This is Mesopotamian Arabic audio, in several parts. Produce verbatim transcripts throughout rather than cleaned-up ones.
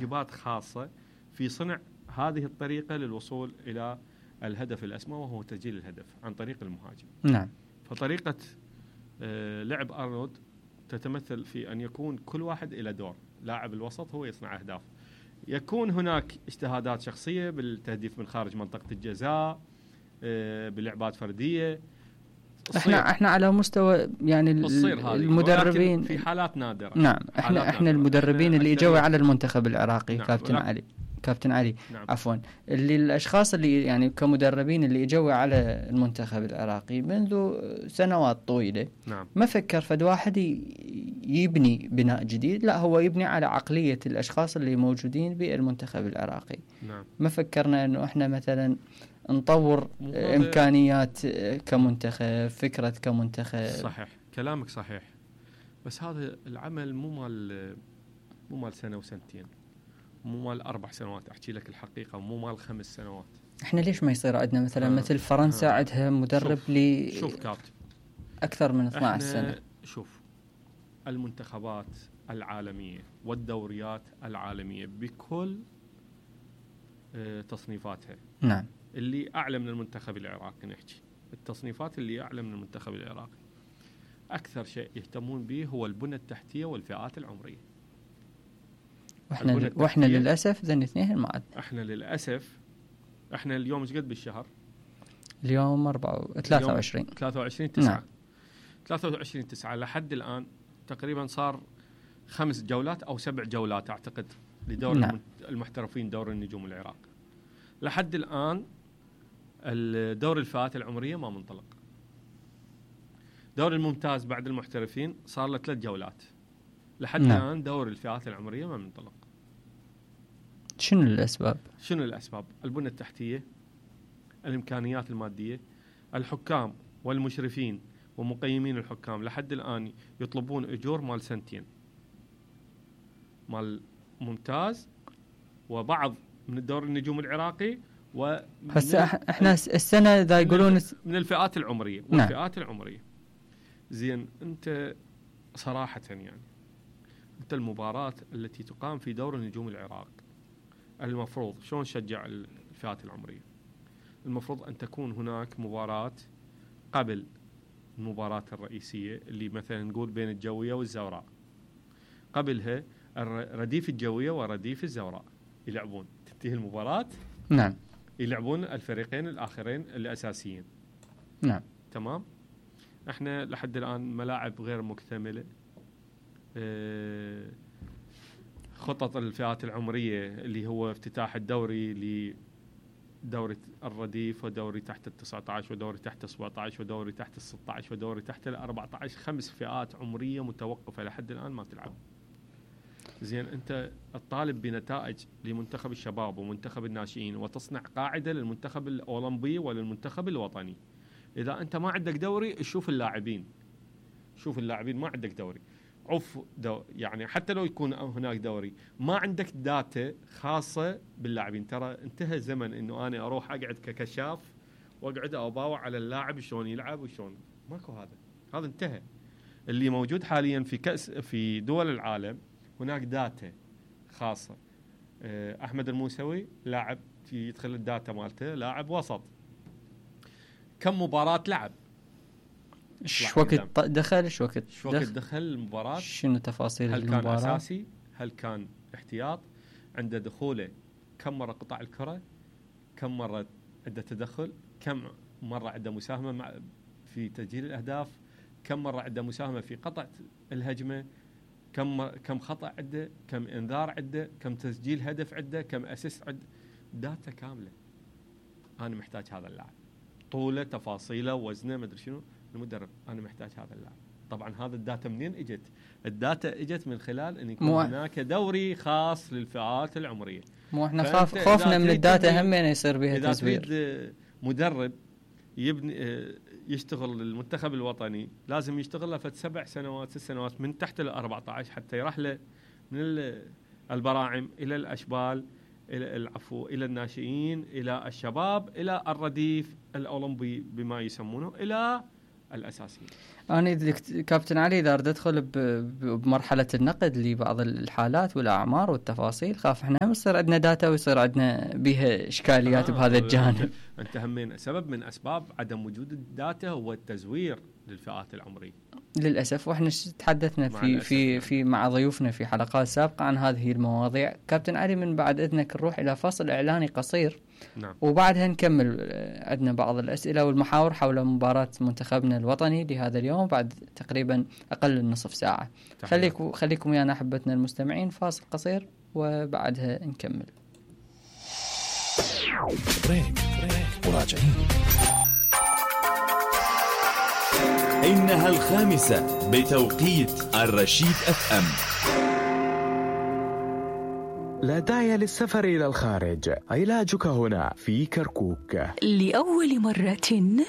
واجبات خاصة في صنع هذه الطريقة للوصول إلى الهدف الأسمى، وهو تسجيل الهدف عن طريق المهاجم. نعم. فطريقة لعب أرنولد تتمثل في أن يكون كل واحد إلى دور. لاعب الوسط هو يصنع أهداف، يكون هناك اجتهادات شخصية بالتهديف من خارج منطقة الجزاء، بلعبات فردية. احنا احنا على مستوى يعني المدربين في حالات نادرة. نعم. احنا احنا نادرة. المدربين اللي اجوا على المنتخب العراقي. نعم. كابتن علي كابتن علي نعم. عفوا اللي الاشخاص اللي يعني كمدربين اللي اجوا على المنتخب العراقي منذ سنوات طويلة. نعم. ما فكر فد واحد يبني بناء جديد، لا هو يبني على عقلية الاشخاص اللي موجودين بالمنتخب العراقي. نعم. ما فكرنا انه احنا مثلا نطور إمكانيات كمنتخب، فكرة كمنتخب. صحيح، كلامك صحيح، بس هذا العمل مو مال مو مال سنة وسنتين، مو مال أربع سنوات، أحكي لك الحقيقة، مو مال خمس سنوات. إحنا ليش ما يصير عندنا مثلا آه. مثل فرنسا آه. عندها مدرب لي شوف كابتن أكثر من اثنتي عشرة سنة. شوف المنتخبات العالمية والدوريات العالمية بكل تصنيفاتها. نعم. اللي أعلى من المنتخب العراقي، نحكي التصنيفات اللي أعلى من المنتخب العراقي، أكثر شيء يهتمون به هو البنى التحتية والفئات العمرية. وإحنا وإحنا للأسف ذن اثنين ما عاد. إحنا للأسف إحنا اليوم إيش قد بالشهر؟ اليوم أربعة ثلاثة وعشرين ثلاثة وعشرين تسعة. نعم. ثلاثة وعشرين تسعة لحد الآن تقريبا صار خمس جولات أو سبع جولات أعتقد لدور نعم. المحترفين دور النجوم العراق. لحد الآن الدور الفئات العمرية ما منطلق. دور الممتاز بعد المحترفين صار له ثلاث جولات. لحد نعم. الآن دور الفئات العمرية ما منطلق. شنو الأسباب؟ شنو الأسباب؟ البنى التحتية، الإمكانيات المادية، الحكام والمشرفين ومقيمين الحكام لحد الآن يطلبون أجور مال سنتين، مال ممتاز وبعض من الدور النجوم العراقي، و هسه احنا السنه اذا يقولون من الفئات العمريه والفئات نعم. العمريه. زين انت صراحه يعني انت المباراه التي تقام في دور النجوم العراق المفروض شلون نشجع الفئات العمريه؟ المفروض ان تكون هناك مباراه قبل المباراه الرئيسيه اللي مثلا نقول بين الجويه والزوراء، قبلها رديف الجويه ورديف الزوراء يلعبون، تنتهي المباراه نعم يلعبون الفريقين الآخرين الأساسيين. نعم. تمام. احنا لحد الآن ملاعب غير مكتملة، اه خطط الفئات العمرية اللي هو افتتاح الدوري لدوري الرديف ودوري تحت التسعة عشر ودوري تحت السبعة عشر ودوري تحت الستة عشر ودوري تحت الأربعة عشر، خمس فئات عمرية متوقفة لحد الآن ما تلعب. زين انت الطالب بنتائج لمنتخب الشباب ومنتخب الناشئين وتصنع قاعده للمنتخب الاولمبي وللمنتخب الوطني. اذا انت ما عندك دوري شوف اللاعبين، شوف اللاعبين ما عندك دوري، عف دو يعني حتى لو يكون هناك دوري ما عندك داتا خاصه باللاعبين. ترى انتهى زمن انه انا اروح اقعد ككشاف واقعد اباوع على اللاعب شلون يلعب وشلون، ماكو هذا، هذا انتهى. اللي موجود حاليا في كأس في دول العالم هناك داتا خاصة. أحمد الموسوي لاعب يدخل الداتا مالته لاعب وسط، كم مباراة لعب، ايش وقت دخل، ايش وقت ايش وقت دخل المباراة، شنو تفاصيل هل المباراة، هل كان أساسي، هل كان احتياط، عنده دخوله كم مرة قطع الكرة، كم مرة عنده تدخل، كم مرة عنده مساهمة مع في تسجيل الأهداف، كم مرة عنده مساهمة في قطع الهجمة، كم كم خطأ عنده، كم انذار عنده، كم تسجيل هدف عنده، كم اسيست عنده، داتا كاملة. أنا محتاج هذا اللاعب، طوله، تفاصيله، وزنه، ما أدري شنو. المدرب أنا محتاج هذا اللاعب. طبعا هذا الداتا منين اجت؟ الداتا اجت من خلال ان يكون مو هناك دوري خاص للفئات العمرية. مو احنا خاف خوفنا من الداتا هم يصير بها تزوير. إذا مدرب يبني يشتغل المنتخب الوطني لازم يشتغل له فت سبع سنوات ست سنوات من تحت الأربعة عشر حتى يرحله من البراعم إلى الأشبال إلى العفو إلى الناشئين إلى الشباب إلى الرديف الأولمبي بما يسمونه إلى الأساسية. أنا كابتن علي إذا أريد أدخل بمرحلة النقد لبعض الحالات والأعمار والتفاصيل، خاف إحنا يصير عندنا داتا ويصير عندنا بها إشكاليات آه بهذا الجانب. أنت همين سبب من أسباب عدم وجود الداتا هو التزوير للفئات العمرية للأسف، وإحنا تحدثنا في في يعني. في مع ضيوفنا في حلقات سابقة عن هذه المواضيع. كابتن علي من بعد إذنك نروح إلى فصل إعلاني قصير. نعم. وبعدها نكمل عندنا بعض الأسئلة والمحاور حول مباراة منتخبنا الوطني لهذا اليوم بعد تقريبا أقل من نصف ساعة. خليكم خليكم ويانا أحبتنا المستمعين، فاصل قصير وبعدها نكمل. بريك بريك وراجعين. إنها الخامسة بتوقيت الرشيد أف أم. لا داعي للسفر إلى الخارج، علاجك هنا في كركوك. لأول مرة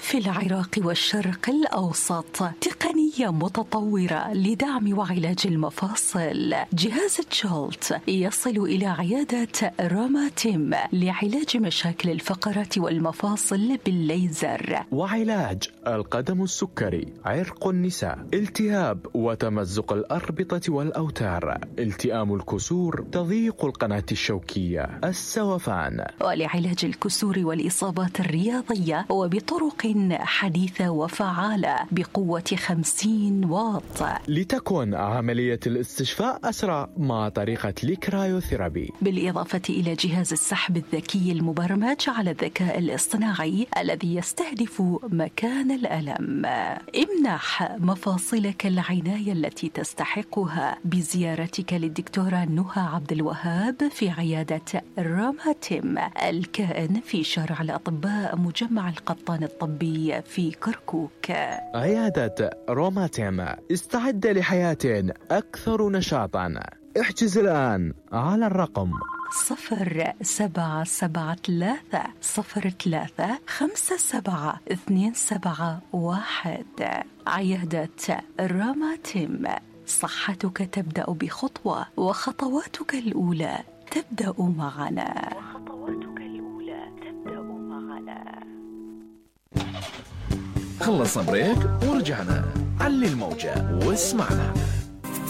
في العراق والشرق الأوسط تقنية متطورة لدعم وعلاج المفاصل. جهاز جولت يصل إلى عيادة روماتيم لعلاج مشاكل الفقرات والمفاصل بالليزر، وعلاج القدم السكري، عرق النساء، التهاب وتمزق الأربطة والأوتار، التئام الكسور، تضييق القناة الشوكية، السوفان، ولعلاج الكسور والإصابات الرياضية وبطرق حديثة وفعالة بقوة خمسين واط، لتكون عملية الاستشفاء أسرع مع طريقة الكرايوثيرابي، بالإضافة إلى جهاز السحب الذكي المبرمج على الذكاء الاصطناعي الذي يستهدف مكان الألم. امنح مفاصلك العناية التي تستحقها بزيارتك للدكتورة نهى عبد الوهاب في عيادة روماتيم الكائن في شارع الأطباء مجمع القطان الطبي في كركوك. عيادة روماتيم، استعد لحياة أكثر نشاطا. احجز الآن على الرقم صفر سبعة سبعة ثلاثة صفر ثلاثة خمسة سبعة اثنين سبعة واحد. عيادة روماتيم، صحتك تبدأ بخطوة وخطواتك الأولى تبدأ معنا. وخطواتك الأولى تبدأ معنا. خلصنا بريك ورجعنا. علي الموجة واسمعنا.